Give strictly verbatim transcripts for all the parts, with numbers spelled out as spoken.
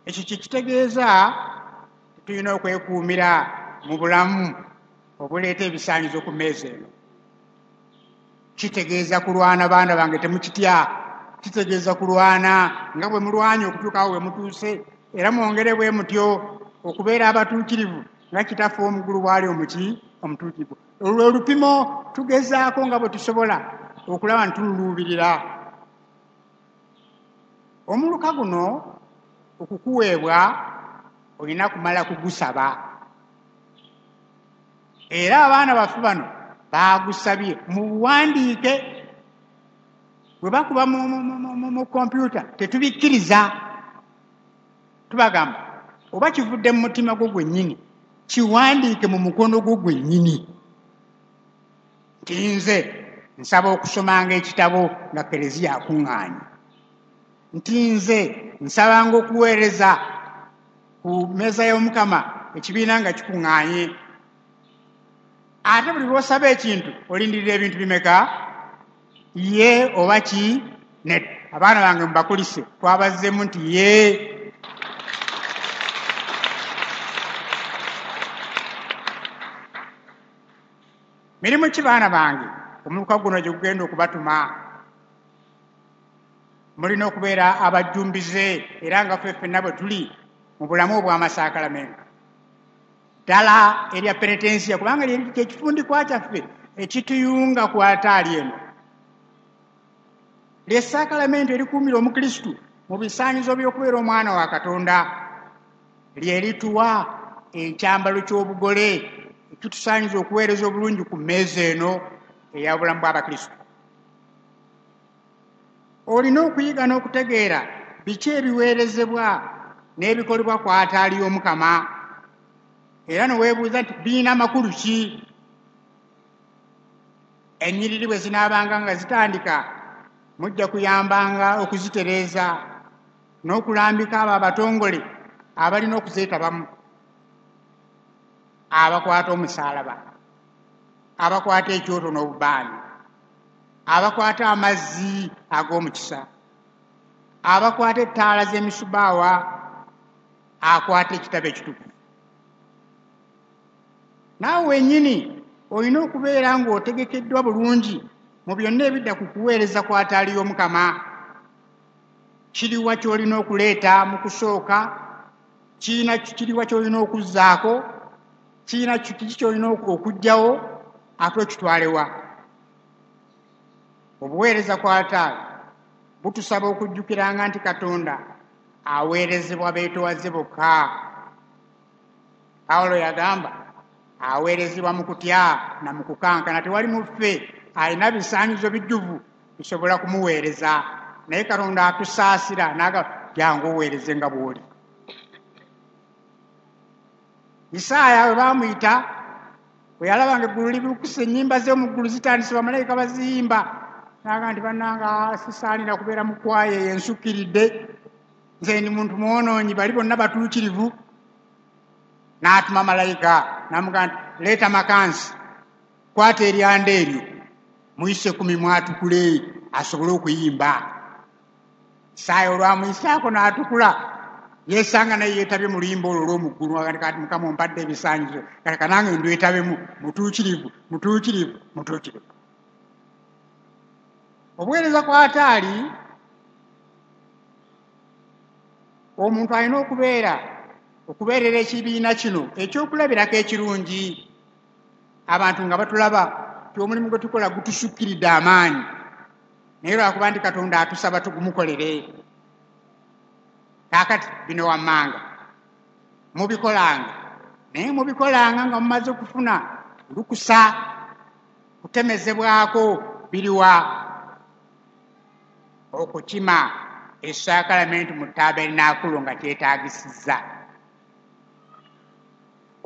Ekyo kye kitegeeza tulina okwekuumira mu bulamu obuleeta ebisaanyizo ku mmeeza eno. Kitegeeza kulwana, baana bange, temukitya. Kitegeeza kulwana nga bwe mulwanye okutuukawo we mutuuse, era mwongere bwe mutyo okubeera abatuukirivu nga Kitaffe ow'omu ggulu bw'ali omuki omutuukirivu. Olwo olupimo tugezaako nga bwe tusobola okulaba nti tululuubirira. Omuluka guno okukuweebwa olina kumala kugusaba, era abaana baffe bano baagusabye mu buwandiike. Bwe bakuba mu kompyuta tetubikkiriza, tubagamba oba kivudde mu mutima gwo gwennyini, kiwandiike mu mukono gwo gwennyini nti nze nsaba okusomanga ekitabo nga Kereziya akuŋŋaanye, nti nze nsabanga okuweereza ku mmeeza y'Omukama ekibiina nga kikuŋŋaanye. Ate buli lw'osaba ekintu olindirira ebintu bimeka? Ye oba ki nedda. Abaana bange mubakulise, twabazzeemu nti ye. Mirimu ki, baana bange, omuluka guno gye gugenda okubatuma? Mulina okubeera abajjumbize, era nga ffe ffenna bwe tuli mu bulamu obw'amasaakalamento ddala erya penetensiya, kubanga kyekifundikwa kyaffe ekituyunga ku altaali eno. Lyessaakalamento erikuumira Omukristu mu bisaanyizo by'okubeera omwana wa Katonda, lye lituwa ekyambalo ky'obugole ekitusaanyiza okuweereza obulungi ku mmeeza eno eya bulamu bw'Abakristu. Olina okuyiga n'okutegeera biki ebiweerezebwa n'ebikolebwa ku altaali y'Omukama, era ne weebuuza nti birina makulu ki? Ennyiriri bwe zinaabanga nga zitandika, mujja kuyambanga okuzitereeza n'okulambika abo abatongole abalina okuzeetabamu: abakwata omusaalaba, abakwata ekyoto n'obubaani, abakwata amazzi ag'omukisa, abakwata ettaala z'emisubaawa, akwata ekitabo ekitukuvu. Naawe wennyini olina okubeera ng'otegekeddwa bulungi mu byonna ebidda ku kuweereza ku altaali y'Omukama. Kiriwa ky'olina okuleeta mu kusooka? Kirina kiriwa ky'olina okuzzaako? Kirina kiki ky'olina okuggyawo ate okitwalewa? Obuweereza ku altaali butusaba okujjukiranga nti Katonda aweerezebwa beetowaze bokka. Pawulo yagamba aweerezebwa mu kutya na mu kukankana. Tewali mu ffe alina bisaanyizo bijjuvu bisobola kumuweereza, naye Katonda atusaasira n'agamba, jangu oweereze nga bw'oli. Isaaya bwe baamuyita, bwe yalaba nga eggulu libukuse, ennyimba z'omu ggulu zitandise, bamalayika baziyimba, n'agamba nti bannanga sisaanira kubeera mu kwaya eyo ensukkiridde, nze ndi muntu mwonoonyi, bali bonna batuukirivu. N'atuma malayika n'amugamba nti leeta makansi, kwata eryanda eryo muyise ku mimwa atukule asobole okuyimba. Isaaya olwamuyisaako n'atukula, yeesanga naye yeetabye mu luyimba olwo olw'omu ggulu. Kati Mukama ompadde ebisaanyizo, kati kanange ndwetabemu, mutuukirivu, mutuukirivu, mutuukirivu. Obuweereza ku altaali, omuntu alina okubeera okubeerera ekibiina kino ekyokulabirako ekirungi, abantu nga batulaba ti omulimu gwe tukola gutusukkiridde amaanyi, naye lwakuba nti Katonda atusaba tugumukolere. Kaakati bino wammanga mubikolanga, naye mubikolanga nga mumaze okufuna lukusa kutemezebwako. Biriwa? Okukima essaakalamentu mu tabernakulo nga kyetaagisizza.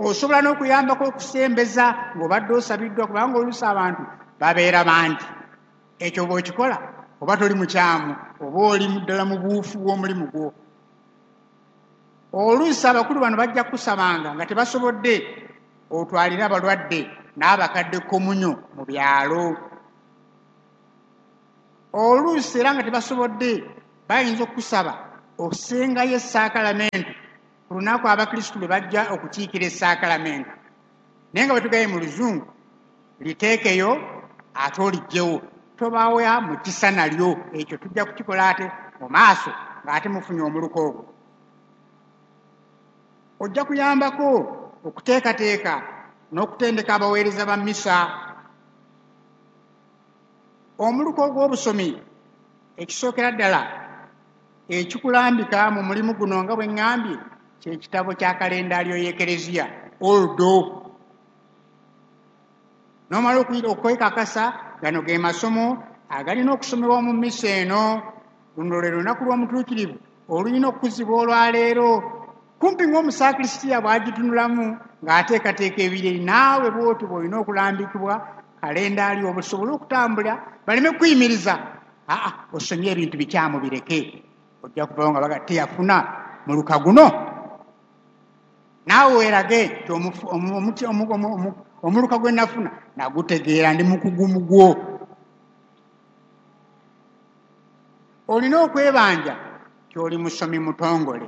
Osobola n'okuyambako okusembeza ng'obadde osabiddwa, kubanga oluusi abantu babeera bangi. Ekyo bw'okikola oba toli mukyamu, oba oli ddala mu buufu bw'omulimu gwo. Oluusi abakulu bano bajja kukusabanga nga tebasobodde otwalire abalwadde n'abakadde komunyo mu byalo. Oluusi era nga tebasobodde bayinza okukusaba Osengayo essaakalamentu ku lunaku abakristu lwe bajja okukiikira essaakalamentu, naye nga bwe tugaye mu luzungu liteekeyo ate oliggyewo, tobawa mukisa nalyo. Ekyo tujja kukikola ate mu maaso ng'ate mufunye omuluka ogwo. Ojja kuyambako okuteekateeka n'okutendeka abaweereza ba mmisa. Omuluka ogw'obusomi ekisookera ddala ekikulambika mu mulimu guno nga bwe ŋŋambye kye kitabo kya kalendaalyo y'Ekereziya Ordo. N'omala okwekakasa gano ge masomo agalina okusomebwa mu mmisa eno. Luno lwe lunaku lw'omutuukirivu olulina okukuzibwa olwaleero. Kumpi ng'omusakrisiya bw'agitunulamu ng'ateekateeka ebireri, naawe bw'otyo bw'olina okulambikibwa kalendaalyo obusobole okutambula baleme kuyimiriza. Aa, osomye ebintu bikyamu bireke, ojja kuvawo nga baga teyafuna muluka guno. Naawe weerage nti omuluka gwe nafuna nagutegeera, ndi mukugu mu gwo. Olina okwebanja nti oli musomi mutongole,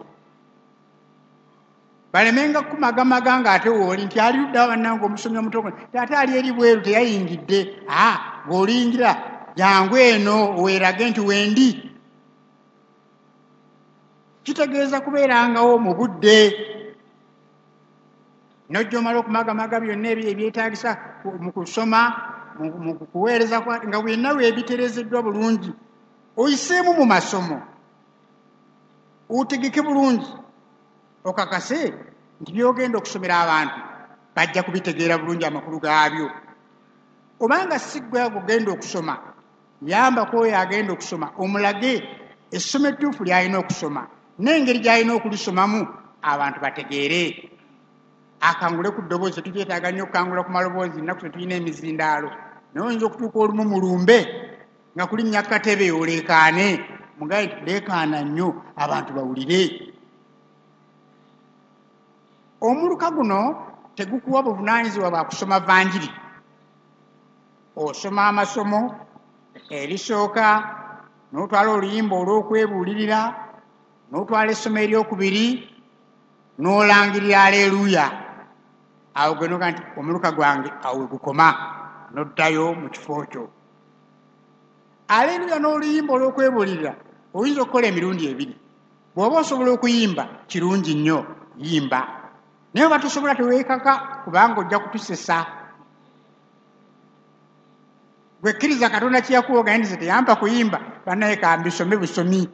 balemenga kukumagamaga ng'ate wooli nti ali ludda bannange omusomi omutongole, ate ali eri bweru teyayingidde. Aa, bw'oliyingira jangu eno weerage nti wendi. Kitegeeza kubeerangawo mu budde, n'ojja omala okumagamaga byonna ebyetaagisa mu kusoma, mu kuweereza, nga bwenna weebitereezeddwa bulungi, oyiseemu mu masomo, otegeke bulungi, okakase nti by'ogenda okusomera abantu bajja kubitegeera bulungi amakulu gaabyo. Obanga si ggwe agenda okusoma, yambako oyo agenda okusoma, omulage essomo ettuufu ly'alina okusoma n'engeri gy'alina okulisomamu abantu bategeere. Akangule ku ddoboozi, tetukyetaaga nnyo okukangula ku maloboozi, nnaku tetulina emizindaalo, naye oyinza okutuuka olumu mulumbe nga kulinnya katebe oleekaane, mugaye nti leekaana nnyo abantu bawulire. Omuluka guno tegukuwa buvunaanyizibwa bwa kusoma vanjiri. Osoma amasomo erisooka, n'otwala oluyimba olw'okwebuulirira, n'otwala essomo eryokubiri, n'olangirira aleluya. Awo gwe noga nti omuluka gwange awo we gukoma, n'oddayo mu kifo kyo. Aleluya n'oluyimba olw'okwebuulirira oyinza okukola emirundi ebiri. Bw'oba osobola okuyimba kirungi nnyo, yimba, naye oba tosobola teweekaka, kubanga ojja kutusesa. Gwe kkiriza Katonda kye yakuwa, ogambe nti teyampa kuyimba, bannaye kambisome busomi.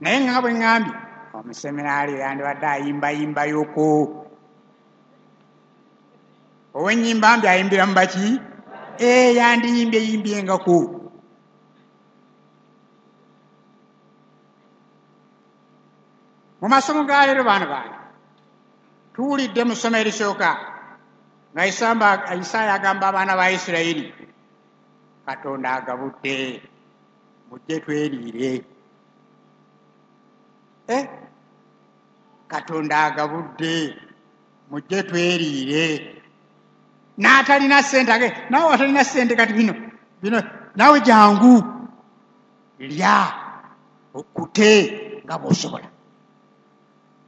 Naye nga bwe ŋŋambye, omuseminaali yandibadde ayimbayimbayoko. Ow'ennyimba mbi ayimbira mu baki? Ee, yandiyimbye yimbyengako. Mu masomo ga leero baana bange tuwulidde mu ssomo erisooka nga Isaaya agamba abaana ba Isirayiri, Katonda agabudde, mujje tweriire. Eh, Katonda agabudde, mujje tweriire. N'atalina ssente age, naawe atalina ssente kati bino bino naawe jangu lya okute nga bw'osobola.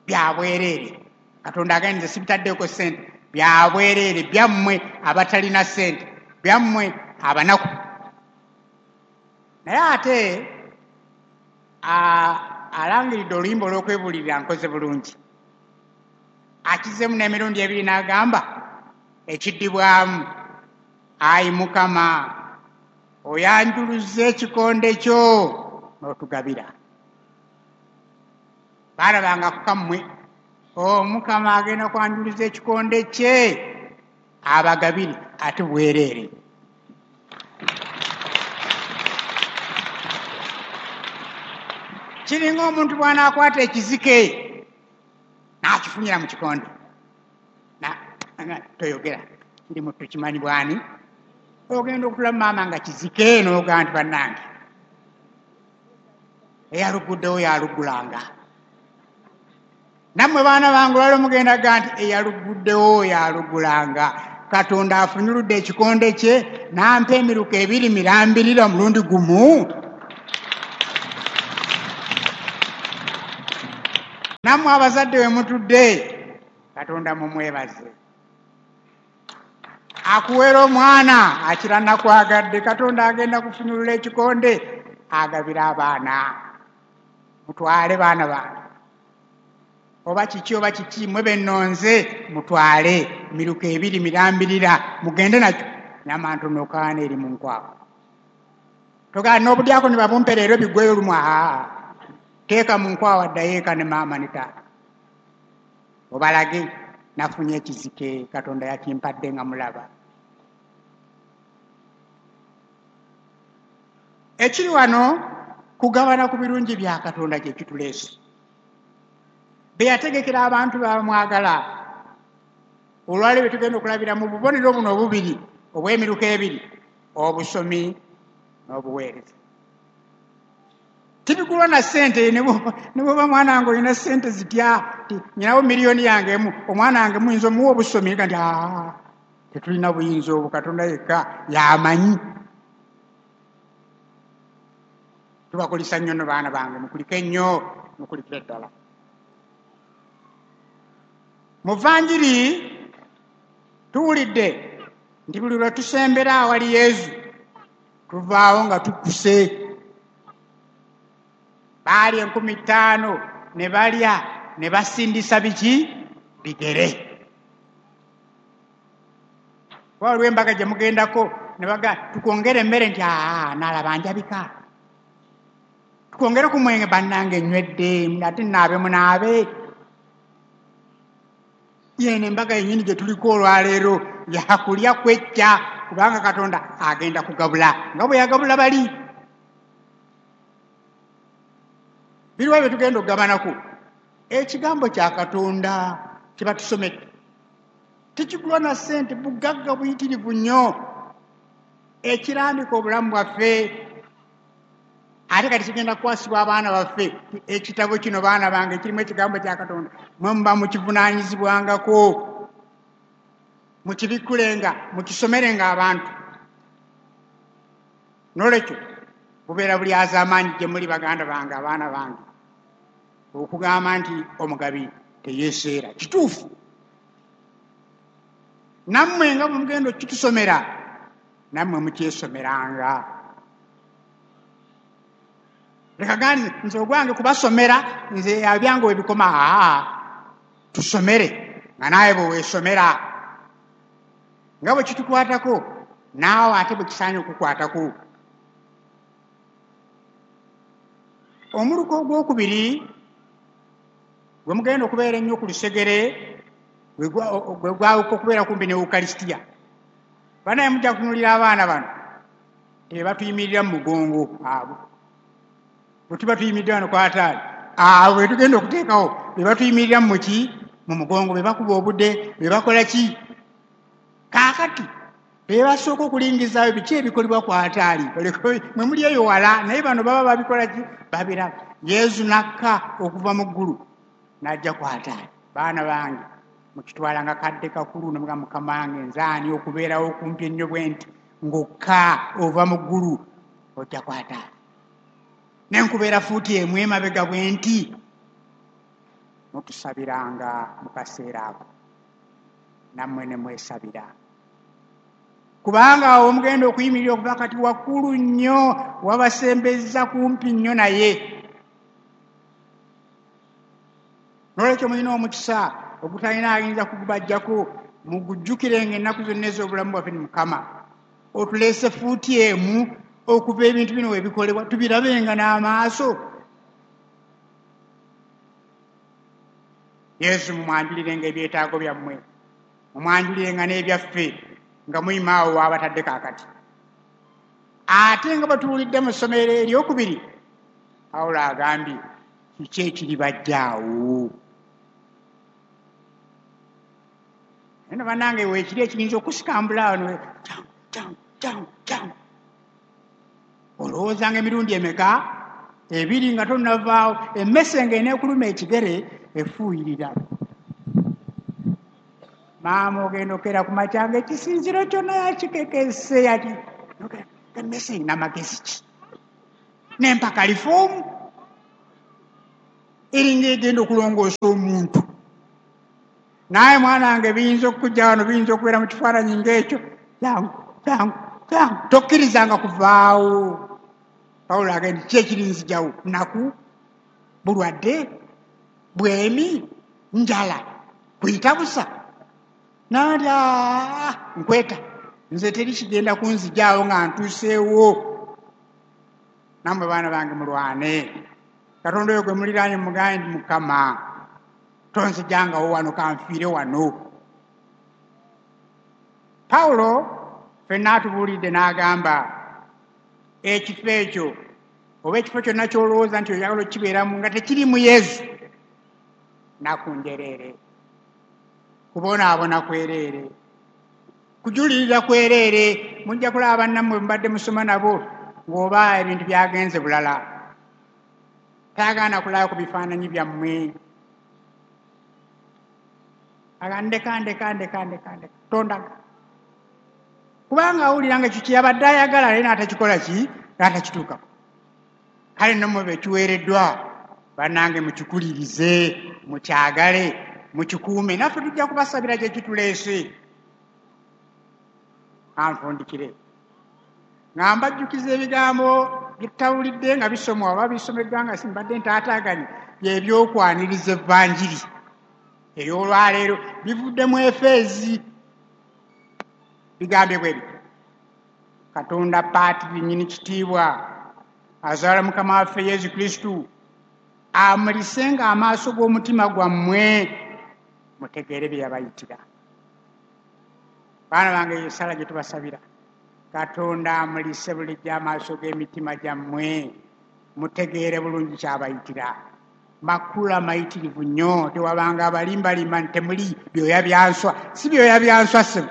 Bya bwereere. Katonda agambye nze sibitaddeeko ssente, bya bwereere, byammwe abatalina ssente, byammwe abanaku. Naye ate alangiridde oluyimba olw'okwebuulirira nkoze bulungi, akizeemu n'emirundi ebiri n'agamba ekiddibwamu, ayi Mukama oyanjuluza ekikonde kyo n'otugabira. Baalabanga ku kammwe, Omukama agenda kwanjuluza ekikonde kye abagabire ate bwereere. Kiringa omuntu bw'anaakwata ekizike n'akifunyira mu kikonde, toyogera kiri mu tukimanyi bwani, ogenda okutula maama nga kizike n'ogaa nti bannange eyaluguddewo yalugulanga. Nammwe baana bange olwaleero mugenda ga nti eyaluguddewo yalugulanga. Katonda afunyuludde ekikonde kye n'ampa emiruka ebiri mirambirira omulundi gumu. Nammwe abazadde we mutudde, Katonda mumwebaze. Akuweera omwana akira nakwagadde, Katonda agenda kufunyulula ekikonde agabira abaana. Mutwale baana bange, oba kiki oba kiki, mwe bennonze mutwale miruka ebiri mirambirira, mugende nakyo. Nyama ntono kaana eri mu nkwawa. Togaa n'obudyako ne babumpe leero biggweyo lumu, aa teeka mu nkwawa ddayo eka ne maama ne taata obalage nafunye ekizike Katonda yakimpadde nga mulaba. Ekiri wano kugabana ku birungi bya Katonda kye kituleese. Be yategekera abantu bamwagala. Olwaleero bye tugenda okulabira mu bubonero buno obubiri obw'emiruka ebiri, obusomi n'obuweereza. Tibigulwa na ssente, ne bw'oba mwana wange olina ssente zitya, nyinawo miliyoni yange emu, omwana wange muyinza omuwa obusomi, nti aa tetulina buyinza obwo, Katonda yekka y'amanyi. Tubakulisa nnyo nno baana bange, mukulike nnyo, mukulikire ddala. Mu Vanjiri tuwulidde nti buli lwe tusembera awali Yesu tuvaawo nga tukkuse. Baali enkumi ttaano ne balya ne basindisa biki? Bigere. Waliwo embaga gye mugendako ne baga tukwongere emmere, nti aa naalaba njabika, tukwongere ku mwenge, bannange nywedde ate naabe munaabe. Yeno embaga yennyini gye tuliko olwaleero yakulya kwejja, kubanga Katonda agenda kugabula nga bwe yagabula bali. Biriwa bye tugenda okugabanako? Ekigambo kya Katonda kye batusomedde tekigulwa na ssente, bugagga buyitirivu nnyo, ekirambika obulamu bwaffe. Ate kati kigenda kukwasibwa abaana baffe. Ekitabo kino baana bange kirimu ekigambo kya Katonda, mwe muba mukivunaanyizibwangako, mukibikkulenga, mukisomerenga abantu. N'olwekyo bubeera bulyazaamaanyi gye muli baganda bange, abaana bange, okugamba nti omugabi teyeeseera. Kituufu. Nammwe nga bwe mugenda okukitusomera, nammwe mukyesomeranga. Leka gandi nze ogwange kubasomera, nze ebyange we bikoma. Aa tusomere nga naawe bwe weesomera, nga bwe kitukwatako naawe ate bwe kisaanye okukwatako. Omuluka ogwokubiri gwe mugenda okubeera ennyo ku lusegere, gwe gwawuka okubeera kumpi ne Ukaristia. Banaye mujja kutunuulira abaana bano tebatuyimirira mu mugongo abo. Bwe tuba tuyimiridde wano ku ataali, abo be tugenda okuteekawo be batuyimirira mu ki? Mu mugongo, be bakuba obudde, be bakola ki? Kaakati be basooka okulingizaayo biki ebikolebwa ku ataali. Mwe muli eyo wala, naye bano baba babikola ki? Babiraba. Yesu n'akka okuva mu ggulu n'ajja ku ataali. Baana bange mukitwala nga kadde kakulu, ne mugamba Mukama wange nze ani okubeerawo okumpi ennyo bwe nti ng'okka ova mu ggulu ojja ku ataali, ne nkubeera fuuti emu emabega bwe nti. Mutusabiranga mu kaseera ako, nammwe ne mwesabira, kubanga awo omugenda okuyimirira okuva kati wakkulu nnyo, wabasembezza kumpi nnyo naye. N'olwekyo mulina omukisa ogutalina ayinza kugubajjako, mugujjukirenga ennaku zonna ez'obulamu bwaffe ni Mukama otuleese fuuti emu okuva ebintu bino we bikolebwa, tubirabenga n'amaaso. Yesu mumwanjulirenga ebyetaago byammwe, mumwanjulirenga n'ebyaffe nga muyima awo waabatadde kaakati. Ate nga bwe tuwulidde mu ssomero eryokubiri, Pawulo agambye kiki ekiribajjaawo? Naye bannange weekiri ekiyinza okusikambula wano, kyangu kyangu kyangu kyangu, olowoozanga emirundi emeka? Ebiri nga tonnavaawo. Emmese ng'eneekuluma ekigere efuuyirira. Maama ogenda okera ku makya nga ekisinziro kyonna yakikekese, yaki emmese erina magezi ki? N'empaka lifoomu. Eringa egenda okulongoosa omuntu. Naye mwana wange biyinza okukujja wano, biyinza okubeera mu kifaananyi ng'ekyo. Jangu, jangu, jangu. Tokkirizanga kuvaawo. Pawulo agenda ki ekirinzijawo? Nnaku, bulwadde, bwemi, njala, kuyita busa. Nandya nkweta. Nze teri kigenda kunzijaawo nga ntuuseewo. Nammwe baana bange mulwane. Katonda oyo gwe muliraanye mugambe nti Mukama tonzijangawo wano, kanfiire wano. Pawulo ffenna atubuulidde n'agamba ekifo ekyo oba ekifo kyonna ky'olowooza nti oyagala okukibeeramu nga tekiri mu Yesu, nnaku njereere, kubonaabona kwereere, kujulirira kwereere. Mujja kulaba bannammwe mubadde musoma nabo ng'oba ebintu byagenze bulala. Tayagala kulaba ku bifaananyi byammwe. Aga ndeka, ndeka, ndeka, ndeka, ndeka, tondaga. Kubanga awulira nga ekyo kye yabadde ayagala naye n'atakikola ki? N'atakituukako. Kale nno mmwe bekiweereddwa bannange mukikulirize, mukyagale, mukikuume. Naffe tujja kubasabira kye kituleese. Anfundikire nga mbajjukiza ebigambo bye tutawulidde nga bisomwa oba bisomeddwa nga simbadde ntaataaganye, by'ebyokwaniriza evvanjiri ey'olwaleero bivudde mu Efeezi. Bigambye bwe bityo. Katonda Paatiri nnyini kitiibwa azaala Mukama waffe Yesu Kristo amulisenga amaaso g'omutima gwammwe mutegeere bye yabayitira. Baana bange, eyo essala gye tubasabira. Katonda amulise bulijjo amaaso g'emitima gyammwe mutegeere bulungi kyabayitira. Makulu amayitirivu nnyo, tewabanga abalimbalimba nti temuli byoya bya nswa. Si byoya bya nswa ssebo,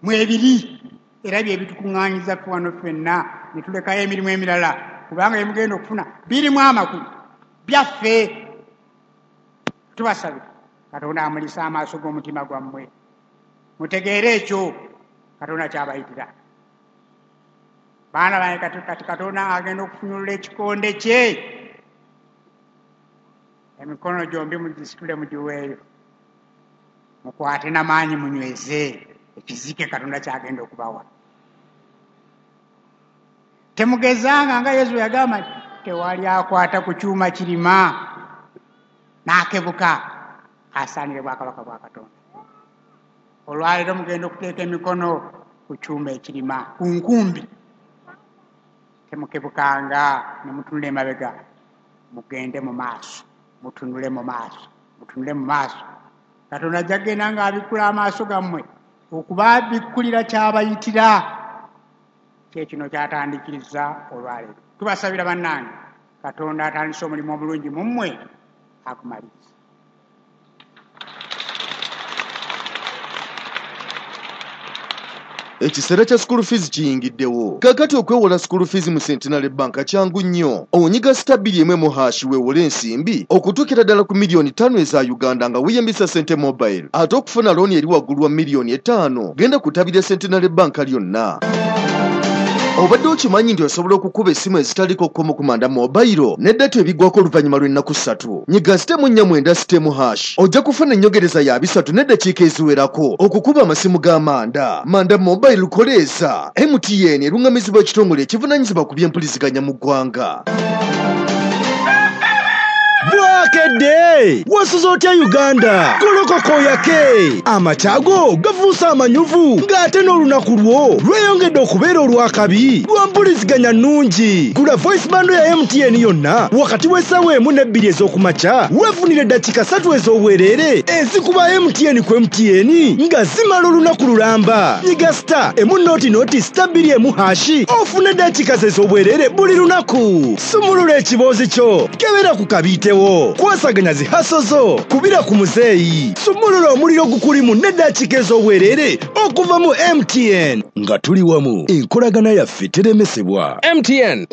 mwebiri era bye bitukuŋŋaanyiza ffe wano ffenna ne tulekayo emirimu emirala, kubanga bye mugenda okufuna birimu amakulu byaffe. Tubasabira Katonda amulise amaaso g'omutima gwammwe mutegeere ekyo Katonda kyabayitira. Baana bange, kati kati Katonda agenda okufunyulula ekikonde kye, emikono gyombi mugisitule mugiweeyo, mukwate n'amaanyi munyweze ekizike Katonda kyagenda okubawa. Temugezanga nga Yesu yagamba nti tewali akwata ku kyuma kirima n'akebuka asaanire bwakabaka bwa Katonda. Olwaleero mugenda okuteeka emikono ku kyuma ekirima ku nkumbi, temukebukanga ne mutunula emabega, mugende mu maaso, mutunule mu maaso, mutunule mu maaso. Katonda ajja kugenda ng'abikkula amaaso gammwe okubabikkulira kyabayitira. Kye kino kyatandikiriza olwaleero. Tubasabira bannange, Katonda atandise omulimu omulungi mu mmwe akumaliriza. Ekiseera kya school fees kiyingiddewo. Kaakati okwewola school fees mu Centenary Bank kyangu nnyo. Onyiga star bbiri emu emu hash weewole ensimbi okutuukira ddala ku miliyoni ttaano eza Uganda nga weeyambisa Sente Mobile. Ate okufuna looni eri waggulu wa miliyoni etaano, genda ku ttabi lya Centenary Bank lyonna. Obadde okimanyi nti osobola okukuba essimu ezitaliko kkomo ku Manda Mobile ne data ebigwako oluvannyuma lw'ennaku ssatu? Nyiga star emu nnya mwenda star emu hash, ojja kufuna ennyongereza ya bisatu n'eddakiika eziwerako okukuba amasimu ga Manda. Manda Mobile koleeza. M T N eruŋŋamizibwa ekitongole ekivunaanyizibwa ku by'empuliziganya mu ggwanga. Bwakedde wasuze otya Uganda? Golokoka oyake, amakyago gafuuse amanyuvu ng'ate n'olunaku lwo lweyongedde okubeera olwakabi lwa mpuliziganya nnungi. Gula voice bundle ya M T N yonna wakati w'essaawa emu n'ebbiri ez'okumakya, weefunire eddakiika ssatu ez'obwereere ezikuba M T N ku M T N nga zimala olunaku lulamba. Nyiga star emu noti noti star bbiri emu hash ofune eddakiika ze ez'obwereere buli lunaku. Sumulula ekiboozi kyo, kebera ku kabiitewo, kwasaganya zi hustle zo, kubira ku muzeeyi, sumulula omuliro gukulimu n'eddakiika ez'obwereere okuva mu M T N. Nga tuli wamu, enkolagana yaffe teremesebwa. M T N.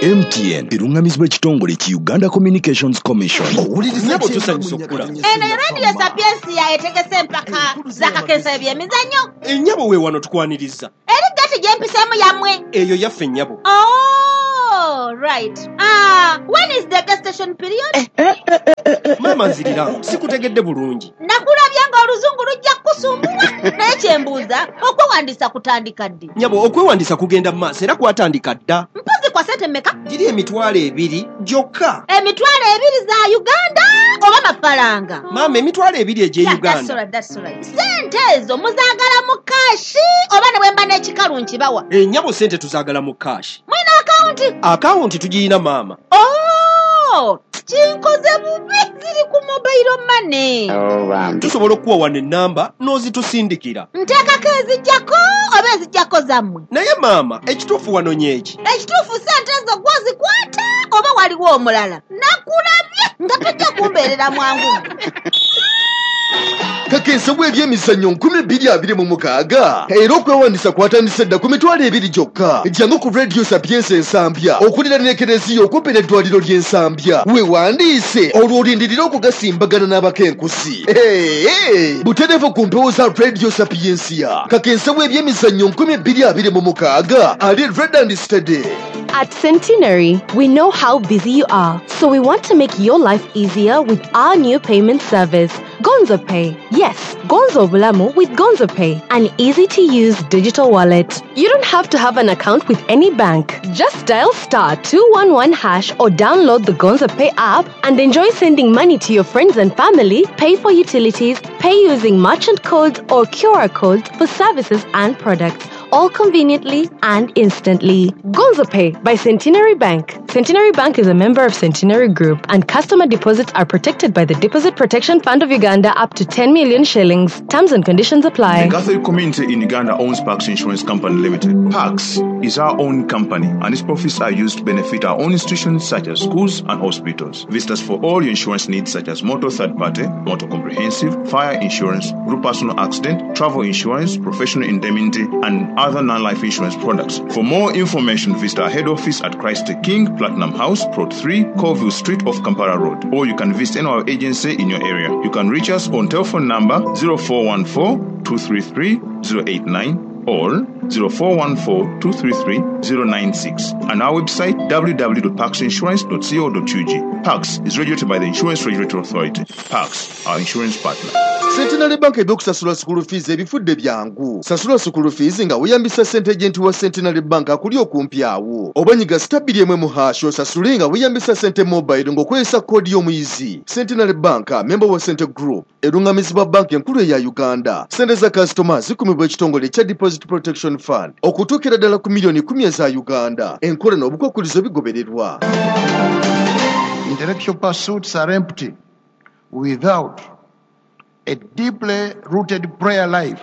M T N eruŋŋamizibwa ekitongole ki Uganda Communications Commission. Nnyabo, tusanyusa okukulaba. Eno Radio Sapiensia etegese empaka z'akakensa ebyemizannyo. Ennyabo, we wano tukwaniriza. Eri gati gyempiseemu yammwe? Eyo yaffe, nnyabo. Oh. Oh, right. Ah, when is the gestation period? Eh, eh, eh, eh, eh. Maama nzirira, sikutegedde bulungi. Nakulabye ng'oluzungu lujja kukusumbuwa. Naye kyembuuza, okwewandiisa kutandika ddi? Nyabo, okwewandiisa kugenda mu maaso era kwatandika dda. Mpozi kwa ssente mmeka? Giri emitwalo ebiri gyokka. Emitwalo ebiri za Uganda oba mafaranga? Maama, emitwalo ebiri egy'e Yeah, Uganda. that's all right, that's all right. Ssente ezo muzaagala mu kashi oba ne bwe mba n'ekikalu nkibawa? Ennyabo, ssente tuzaagala mu kashi. Mulina akawunti? Akawunti tugirina maama. Oh, kinkoze bubi, ziri ku mobile money. Tusobola okuwa wano ennamba n'ozitusindikira. Nteekako ezijjako oba ezijjako zammwe? Naye maama, ekituufu wanonye eki? Ekituufu ssente ezo gw'ozikwata oba waliwo omulala? Nakulabye nga tojja kumbeerera mwangu. Kakensa bw'ebyemizannyo nkumi bbiri abiri mu mukaaga era okwewandiisa kwatandise dda ku mitwalo ebiri gyokka. Jangu ku Radio Sapientia Ensambya okuliraana ekereziya okumpi n'eddwaliro ly'Ensambya, weewandiise olwo olindirire okugasimbagana n'abakenkusi. Hey, butereevu ku mpewo za Radio Sapientia. Kakensa bw'ebyemizannyo nkumi bbiri abiri mu mukaaga ali ready and steady. At Centenary, we know how busy you are, so we want to make your life easier with our new payment service, Gonzo Pay. Yes, Gonzo Bulamu with Gonzo Pay, an easy-to-use digital wallet. You don't have to have an account with any bank. Just dial star two one one hash or download the Gonzo Pay app and enjoy sending money to your friends and family, pay for utilities, pay using merchant codes or Q R codes for services and products, all conveniently and instantly. Gonzo Pay by Centenary Bank. Centenary Bank is a member of Centenary Group, and customer deposits are protected by the Deposit Protection Fund of Uganda up to ten million shillings. Terms and conditions apply. The Catholic community in Uganda owns Pax Insurance Company Limited. Pax is our own company, and its profits are used to benefit our own institutions such as schools and hospitals. Visit us for all your insurance needs such as motor third party, motor comprehensive, fire insurance, group personal accident, travel insurance, professional indemnity, and other non-life insurance products. For more information, visit our head office at Christ the King, Platinum House, Plot three, Colville Street off Kampala Road, or you can visit any of our agency in your area. You can reach us on telephone number zero four one four, two three three, zero eight nine or zero four one four, two three three, zero nine six and our website w w w dot pax insurance dot co dot u g. Pax is regulated by the Insurance Regulatory Authority. Pax, our insurance partner. Centenary Bank ebyokusasula school fees ebifudde byangu. Sasula school fees nga weeyambisa ssente agent wa Centenary Bank akuli okumpi awo. Oba nyiga star bbiri emu mu hash osasule nga weeyambisa ssente mobile ng'okozesa koodi y'omuyizi. Centenary Bank, member wa Sente Group, erungamizibwa banki enkulu eya Uganda. Ssente za kasitoma zikumibwa ekitongole ekya Deposit Protection Fund okutuukira ddala ku miliyoni kumi eza Uganda. Enkola n'obukwakkulizo bigobererwa. Intellectual pursuits are empty without a deeply rooted prayer life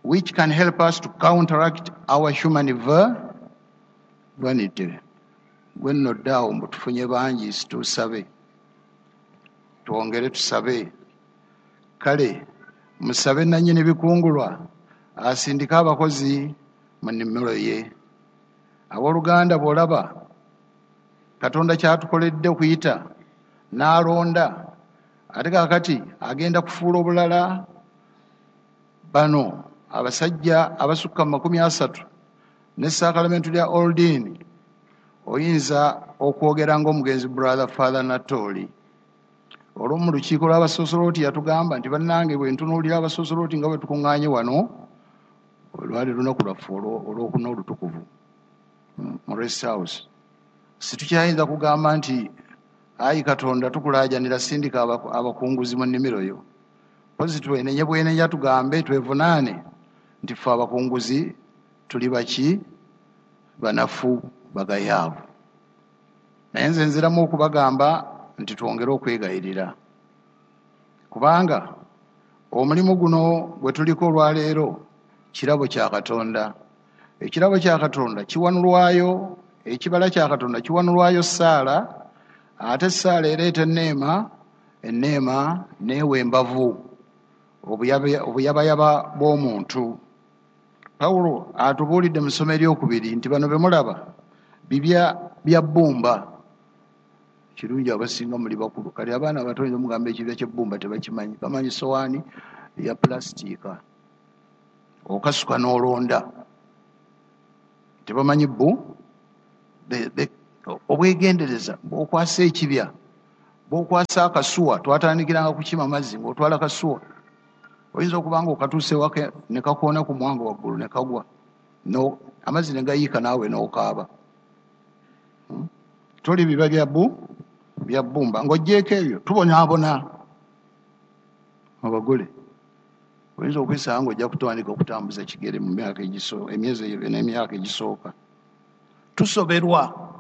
which can help us to counteract our human vanity. Gwe nno ddaawo mbu tufunye bangi, tusabe, twongere tusabe. Kale musabe nannyini bikungulwa asindike abakozi mu nnimiro ye. Abooluganda, bw'olaba Katonda kyatukoledde okuyita n'alonda, ate kaakati agenda kufuula obulala bano abasajja abasukka mu makumi asatu ne ssaakalamentuli lya Oldin. Oyinza okwogera ng'omugenzi Brother Father Natoli olwo mu lukiiko lw'abasosoloti yatugamba nti bannange bwe ntunuulira abasosoloti nga bwe tukuŋŋaanye wano, olwali lunaku lwaffe olwokuna olutukuvu mu rest house, situkyayinza kugamba nti ayi Katonda tukulaajanira sindika abakunguzi mu nnimiro yo. Mpozi twenenye bwenenya tugambe twevunaane nti ffe abakunguzi tuli baki, banafu, bagayaavu. Naye nze nziramu okubagamba nti twongere okwegayirira, kubanga omulimu guno gwe tuliko olwaleero kirabo kya Katonda. Ekirabo kya Katonda kiwanulwayo, ekibala kya Katonda kiwanulwayo ssaala, ate ssaala ereeta enneema, enneema n'ewa embavu obuyabayaba bw'omuntu. Pawulo atubuulidde mu ssomo eryokubiri nti bano be mulaba bibya bya bbumba. Kirungi abasinga muli bakulu, kati abaana abato oyinza omugamba ekibya ky'ebbumba tebakimanyi, bamanyi sowaani ya pulasitiika okasuka n'olonda, tebamanyi bbu The, the, obwegendereza bw'okwasa ekibya, bw'okwasa akasuwa, twatandikiranga kukima mazzi ng'otwala kasuwa. Oyinza okuba nga okatuuse waka ne kakoona ku mwanga waggulu ne kagwa, no, amazzi ne gayiika naawe n'okaaba. Hmm? Toli biba bya bu bya bbumba. Ng'oggyeeko ebyo tubonaabona abagole. Oyinza okwesanga ng'ojja kutandika okutambuza kigere mu myaka egiso, emyezi eyo n'emyaka egisooka. Tusoberwa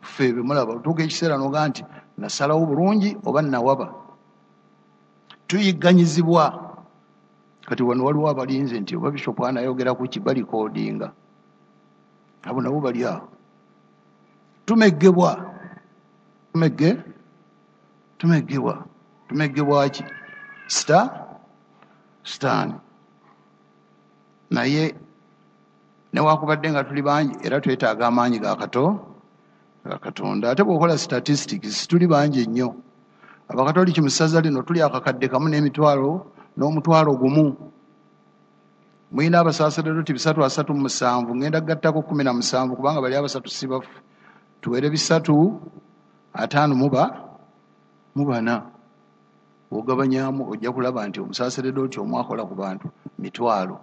ffe bwe mulaba, otuuka ekiseera n'ogaa nti nasalawo bulungi oba nawaba. Tuyigganyizibwa. Kati wano waliwo abalinze nti oba Bishop anayogera ku ki, balikoodinga. Abo nabo bali awo. Tumeggebwa. Tumegge? Tumeggebwa. Tumeggebwa ki? Sita? Sitaani. Naye newakubadde nga tuli bangi era twetaaga amaanyi ga kato ga Katonda. Ate bw'okola statistics tuli bangi nnyo. Abakatoliki mu ssaza lino tuli akakadde kamu n'emitwalo n'omutwalo gumu. Mulina abasaaserdoti bisatu asatu mu musanvu, ngenda kugattako kkumi na musanvu kubanga bali abasatu si bafu. Tuwere bisatu ataano mu ba mu bana. Bw'ogabanyaamu ojja kulaba nti omusaaserdoti omu akola ku bantu mitwalo.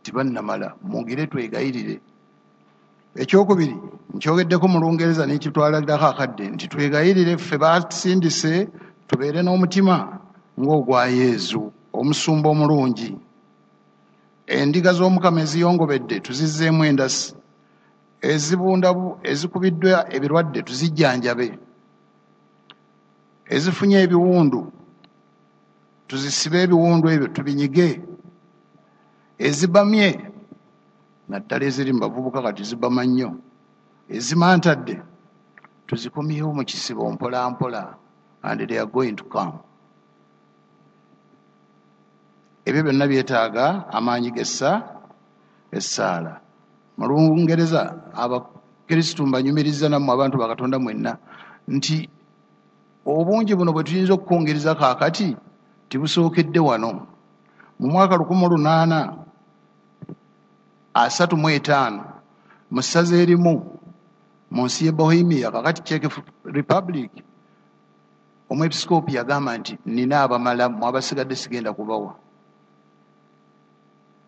Tibannamala, mwongere twegayirire. Ekyokubiri nkyogeddeko mu Lungereza n'ekitwalirako akadde nti twegayirire ffe basindise tubeere n'omutima ng'ogwa Yezu omusumba omulungi. Endiga z'Omukama eziyongobedde tuzizzeemu endasi, ezibunda ezikubiddwa ebirwadde tuzijjanjabe, ezifunye ebiwundu tuzisibe ebiwundu ebyo tubinyige, ezibamye naddala eziri mu bavubuka kati zibama nnyo, ezimantadde tuzikomyewo mu kisibo mpola mpola, and they are going to come. Ebyo byonna byetaaga amaanyi g'essa essaala. Mu Lungereza Abakristu mbanyumiriza nammwe abantu ba Katonda mwenna nti obungi buno bwe tuyinza okukungereza kaakati tibusookedde wano. Mu mwaka lukumi lunaana asatu mu etaano mu ssaza erimu mu nsi y'e Bohemia, kakati Czech Republic, omwepisikoopi yagamba nti nina abamala, mmwe abasigadde sigenda kubawa.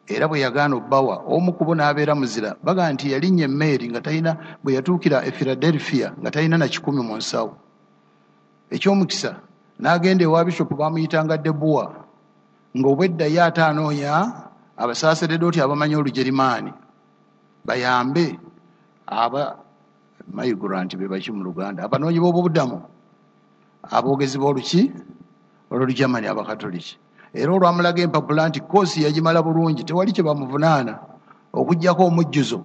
Era bwe yagaana obbawa, omu ku bo n'abeera muzira. Bagamba nti yalinnya emmeeri nga talina, bwe yatuukira e Philadelphia nga talina na kikumi mu nsawo. Ekyomukisa n'agenda ewa Bishop bamuyitanga Debua, ng'obwedda ye ate anoonya abasaaseredooti abamanyi Olugerimaani bayambe aba migrant be baki mu Luganda, abanoonyi b'obubudamu, aboogezi b'oluki olw'Olugermani Abakatoliki. Era olwamulaga empapula nti koosi yagimala bulungi, tewali kye bamuvunaana okuggyako omujjuzo,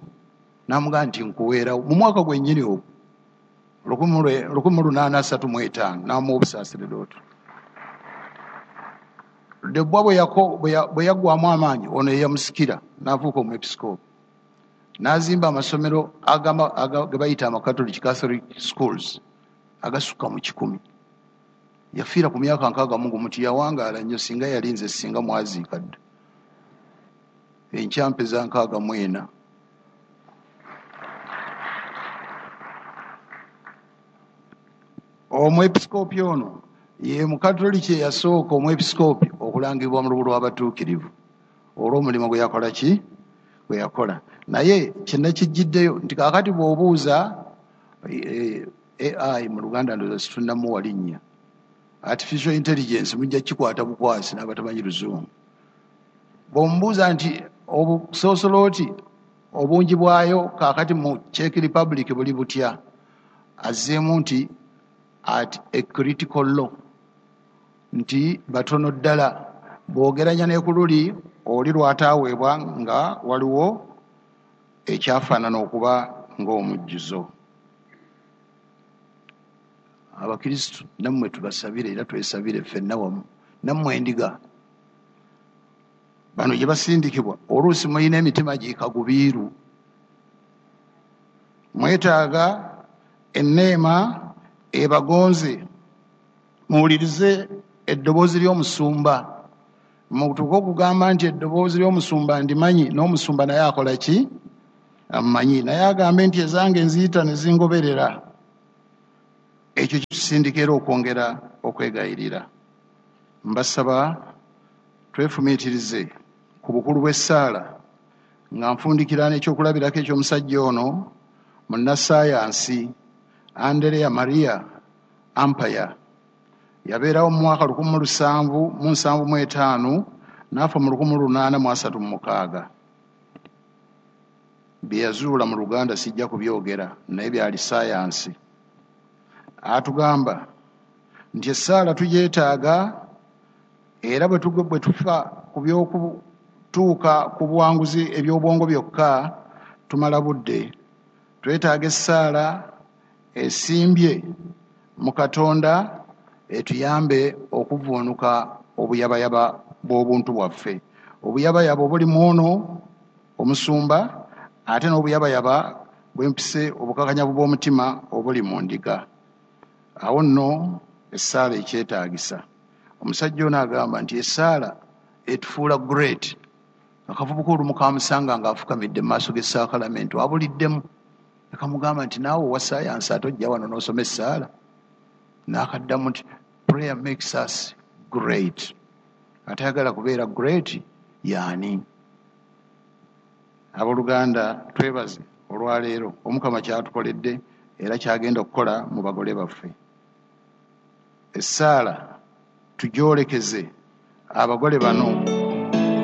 n'amugamba nti nkuweerawo. Mu mwaka gwennyini ogwo lukumi lunaana asatu mu etaano n'amuwa obusaaseredooti. Debwa bwe yaggwamu amaanyi, ono ye yamusikira n'afuuka omwepisikoopi. N'azimba amasomero ge bayita Amakatoliki, Catholic schools, agasukka mu kikumi. Yafiira ku myaka nkaaga mu gumu, tiyawangaala nnyo, singa yalinze singa mwaziika dda. Enkya mpeza nkaaga mu ena. Omwepisikoopi ono ye Mukatoliki eyasooka omwepisikoopi okulangibwa mu lubu lw'abatuukirivu olw'omulimu gwe yakola ki gwe yakola. Naye kye nakijjiddeyo nti kaakati bw'obuuza A I mu Luganda ndowooza situnnamuwa linnya, artificial intelligence mujja kikwata bukwasi n'abatamanyi Luzungu. Bw'omubuuza nti obusoosolooti obungi bwayo kaakati mu Czech Republic buli butya, azzeemu nti at a critical law, nti batono ddala bw'ogeranya ne ku luli oli lwataaweebwa nga waliwo ekyafaanana okuba ng'omujjuzo. Abakristu nammwe tubasabire era twesabire ffenna wamu, nammwe endiga bano gye basindikibwa oluusi mulina emitima gikagubiiru, mwetaaga enneema ebagonze, muwulirize eddoboozi ly'omusumba. Mutuuke okugamba nti eddoboozi ly'omusumba ndimanyi, n'omusumba naye akola ki? Amumanyi naye agambe nti ezange nziyita ne zingoberera. Ekyo kitusindika era okwongera okwegayirira. Mbasaba twefumiitirize ku bukulu bw'essaala nga nfundikira n'ekyokulabirako eky'omusajja ono munnassaayansi Anderea Maria Ampaya. Yabeerawo mu mwaka lukumi mu lusanvu mu nsanvu mu etaano n'afa mu lukumi lunaana mu asatu mu mukaaga. Bye yazuula mu Luganda sijja kubyogera naye byali ssaayansi. Atugamba nti essaala tugyetaaga era bwe bwe tufa ku by'okutuuka ku buwanguzi eby'obwongo byokka tumala budde. Twetaaga essaala esimbye mu Katonda etuyambe okuvvuunuka obuyabayaba bw'obuntu bwaffe. Obuyabayaba obuli mu ono omusumba ate n'obuyabayaba bw'empise obukakanyavu bw'omutima obuli mu ndiga. Awo nno essaala ekyetaagisa. Omusajja ono agamba nti essaala etufuula great. Akavubuka olumu kamusanga ng'afukamidde mu maaso g'essaakalamentu abuliddemu. Akamugamba nti naawe owa ssaayansi ate ojja wano n'osoma essaala. N'akaddamu nti prayer makes us great. Atayagala kubeera great y'ani? Abooluganda twebaze olwaleero Omukama kyatukoledde era kyagenda okukola mu bagole baffe. Essaala tugyolekeze abagole bano.